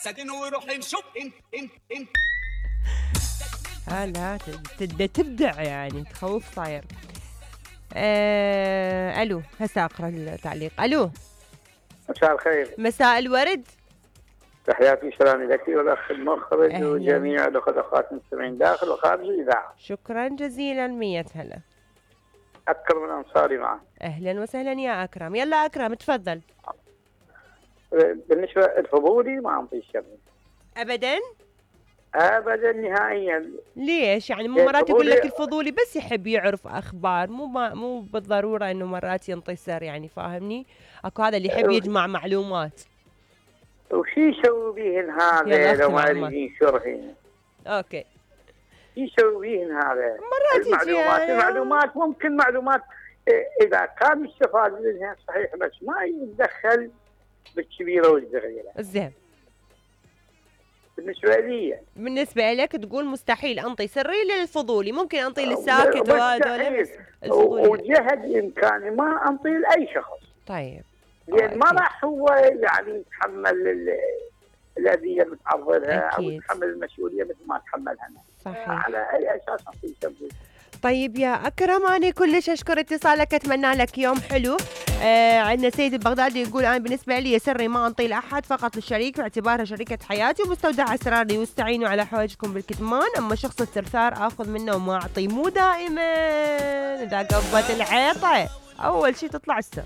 جسد وروح نشوف لا تبدع يعني، تخوف صاير. الو، هسه اقرا التعليق. الو، مساء الخير. مساء الورد. تحياتي وسلامي لك والاخ المخرج وجميع الاخوات المستمعين داخل وخارج الاذاعه. شكرا جزيلا، 100 هلا. اكرم من انصاري معك. اهلا وسهلا يا اكرم. يلا اكرم تفضل. بالنسبه الفضولي ما انطي الشر ابدا ابدا نهائيا. ليش يعني؟ مو مرات يقول لك الفضولي بس يحب يعرف اخبار، مو بالضروره انه مرات ينطي سر، يعني فاهمني؟ اكو هذا اللي يحب يجمع معلومات. وش يسوي بيهن هذا لو ما يريد ينشرهن؟ اوكي، يسوي بيهن هذا مرات المعلومات ممكن معلومات اذا كان يستفاد منها صحيح، بس ما يتدخل بالكبيره والصغيره. زين، بالنسبه لك تقول مستحيل انطي سري للفضولي، ممكن انطي للساكت وهذول بس الفضولي وجهد امكاني ما انطي لاي شخص. طيب، لان ما راح هو يعني يتحمل الاذيه اللي بتعرض لها او يتحمل المسؤوليه مثل ما تحملها انا. صحيح. على اي اساس انطي سري؟ طيب يا أكرم، أنا كلش أشكر اتصالك، أتمنى لك يوم حلو. عندنا سيد البغدادي يقول أنا بالنسبة لي سري ما أنطي لأحد، فقط للشريك باعتبارها شريكة حياتي ومستودع أسراري، واستعينوا على حوائجكم بالكتمان. أما شخص الثرثار آخذ منه وما أعطي، مو دائما، إذا قبت العيطة أول شي تطلع السر.